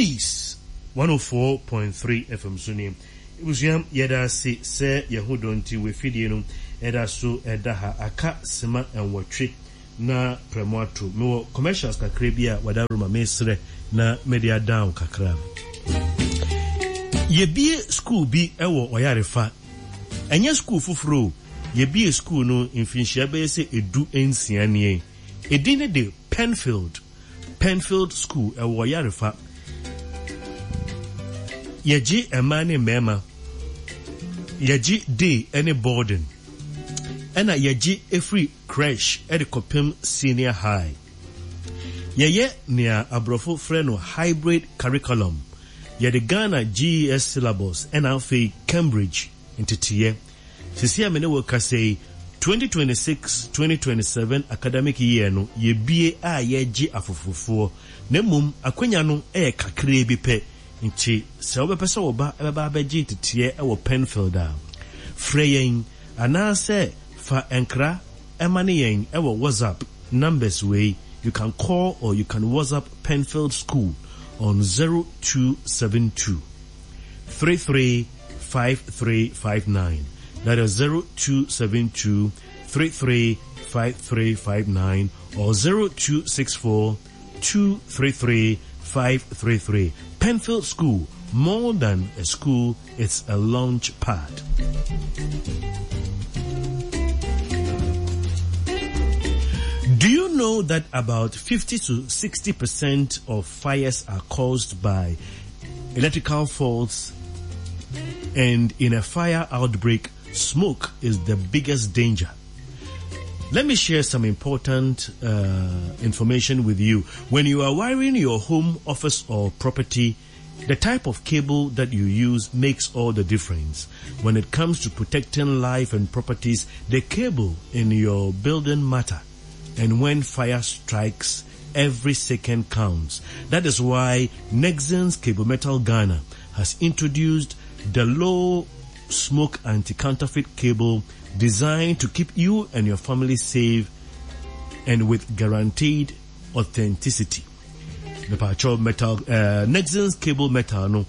Peace 104.3 FM so nie. Ebusua yɛda ase sɛ yɛho dɔ nti w'afidie no ɛda so ɛda ha. Aka sima nwɔtwe na prɛmo ato. Mewɔ commercials kakra bi a wadaworo ma mesrɛ na mede adan wo kakra. Yɛbie school bi wɔ Ɔyarefa. Ɛnyɛ school foforɔ o, yɛbie school no mfinhyia bɛyɛ sɛ 16 nie. Edin no de Penfield. Penfield School, ɛwɔ Ɔyarefa. Yɛgye mmaa ne mmarima. Yɛgye day ne boarding. Ɛna yɛgye ɛfiri crèche de kɔpem senior high. Yɛyɛ nea aborɔfo frɛ no hybrid curriculum. Yɛde Ghana GES syllabus ɛna afei Cambridge nteteyɛ. Seesei a me ne wo rekasa yi, 2026-2027 academic year no yɛbue a yɛregye afoforofoɔ, na mmom akwanya no yɛ kakraa bi pɛ, nti sɛ wobɛpɛ sɛ wo ba bɛba abɛgye nteteɛ wɔ Penfield a, frɛ yɛn anaasɛ fa nkra ma ne yɛn wɔ WhatsApp numbers wei, you can call or you can WhatsApp Penfield School on 0272. 335359. That is 0272 335359 or 0264 233 533. Penfield School, more than a school, it's a launch pad. Do you know that about 50 to 60% of fires are caused by electrical faults? And in a fire outbreak, smoke is the biggest danger. Let me share some important uh, information with you. When you are wiring your home, office, or property, the type of cable that you use makes all the difference. When it comes to protecting life and properties, the cable in your building matter. And when fire strikes, every second counts. That is why Nexans Cable Metal Ghana has introduced the low smoke anti-counterfeit cable designed to keep you and your family safe and with guaranteed authenticity. Mepakyɛw metal eh, Nexans cable metal no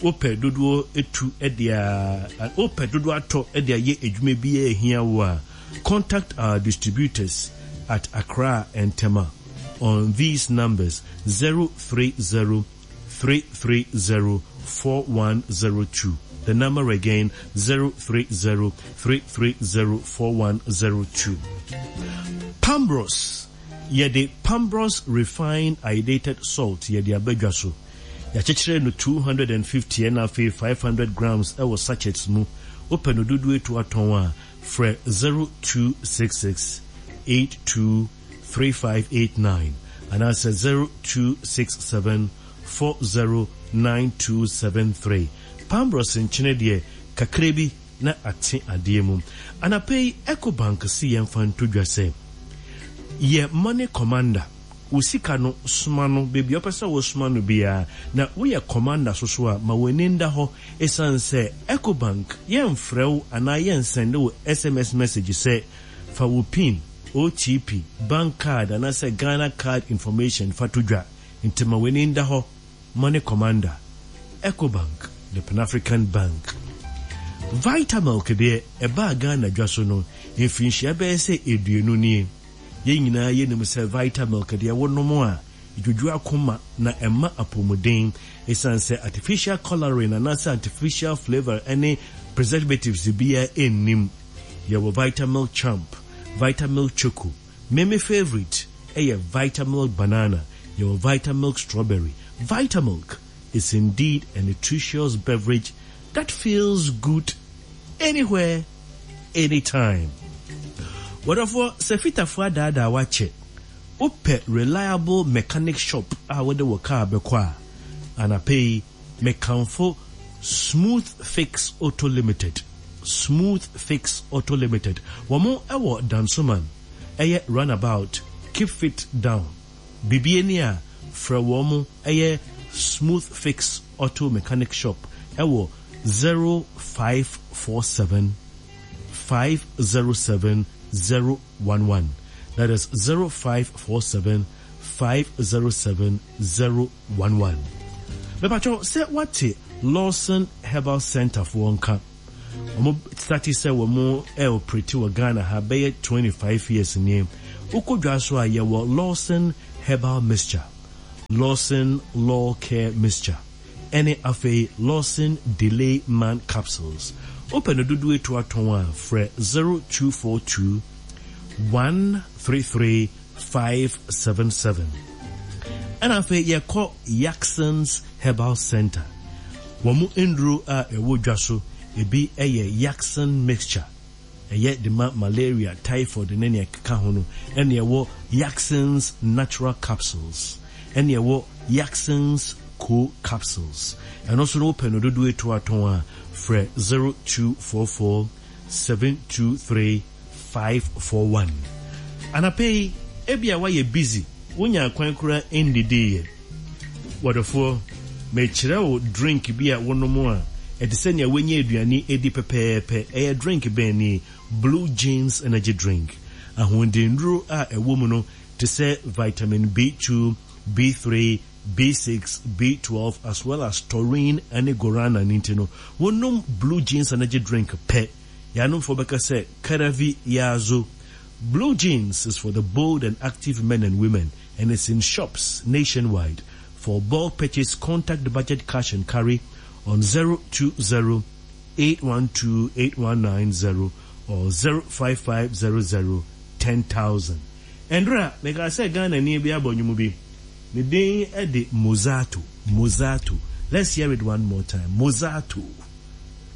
wopɛ dodoɔ etu de a wopɛ dodoɔ atɔ de ayɛ adwuma bi a ehia wo a contact our distributors at Accra and Tema on these numbers 030 330 4102. The number again 030 330 4102. Pambros Yɛde Pambros Refined Iodated Salt yɛde aba dwa so. Yɛakyekyerɛ no 250 ɛna afei 500 grams wɔ sachets mu. Wopɛ no dodoɔ etu atɔn a, frɛ 0266 82 3589 anaasɛ 0267 409273. Pambros nkyene deɛ, kakra bi na ate adeɛ mu. Anapa yi Ecobank se yɛmfa nto dwa sɛ, yɛ Money Commander, wo sika no soma no baabi a wopɛ sɛ wosoma no biara, na woyɛ Commander so so a ma w'ani nda hɔ esiane sɛ Ecobank yɛmfrɛ wo anaa yɛnsɛnde wo sms message sɛ fa wo pin, OTP, bank card anaasɛ Ghana card information fa to dwa nti ma w'ani nda hɔ. Money Commander, Ecobank, the Pan-African Bank. Vitamilk deɛ ɛbaa Ghana dwa so no mfirinhyia bɛyɛ sɛ aduonu nie. Yɛn nyinaa yɛnim sɛ Vitamilk deɛ wonom a, ɛdwodwo akoma na ɛma apɔmuden. Ɛsiane sɛ artificial colouring anaasɛ artificial flavour ne preservatives biara nnim. Yɛwɔ Vitamilk Champ, Vitamilk Choco, Me me favourite yɛ Vitamilk banana, yɛwɔ Vitamilk strawberry. Vitamilk is indeed a nutritious beverage that feels good anywhere, anytime. Wɔdɔfoɔ, sɛ fitafoɔ adaadaa wo akyɛ, wopɛ reliable mechanic shop a wode wo car bɛkɔ a, anapa yi, Mekamfo Smooth Fix Auto Limited, Smooth Fix Auto Limited. Wɔn wɔ Dansoman, ɛyɛ runabout, keep fit down. Biribi ani a, frɛ wɔn, ɛyɛ Smooth Fix Auto Mechanic Shop wɔ 0547 507 011, that is 0547 507 011. Mepakyɛw sɛ woate Lawson Herbal Centre foɔ nka? Wɔn starte sɛ wɔn operate wɔ Ghana ha bɛyɛ 25 years nie. Wokɔ dwa so a yɛwɔ Lawson Herbal Mixture, Lawson Law Care Mixture ɛne afei Lawson Delay Man Capsules. Wopɛ no dodoɔ etu atɔn a frɛ 0242 133 577. Ɛna afei yɛkɔ Yakson's Herbal Centre. Wɔn nnuro a ɛwɔ dwa so ebi yɛ Yakson Mixture, ɛyɛ de ma malaria, typhoid ne nea ɛkeka ho no, ɛna ɛwɔ Yakson's Natural Capsules, ɛna ɛwɔ Yakson's Co Capsules. Ɛno nso no wopɛ no dodoɔ etu atɔn a, frɛ 0244 723 541. Anapa yi, ebia woayɛ busy, wonyaa kwan koraa nnidiiɛ. W'adɔfoɔ, mekyerɛ wo drink bi a wonom a, ɛte sɛ nea woanya aduane adi pɛpɛɛpɛ. Ɛyɛ drink bɛn nie? Blue Jeans Energy Drink. Ahoɔdennuro a ɛwɔ mu no te sɛ vitamin B2, B3, B6, B12 as well as taurine ne guarana no nti no, wonom Blue Jeans Energy Drink pɛ, yɛanomfoɔ bɛka sɛ Karavi Yazo. Blue Jeans is for the bold and active men and women and it's in shops nationwide. For bulk purchase, contact Budget Cash and Carry on 020 812 8190 or 05500 10000. Ɛndra, mekaa sɛ Ghanani bi abɔ nnwom bi. Ne din de Mozato, Mozato. Let's hear it one more time. Mozato.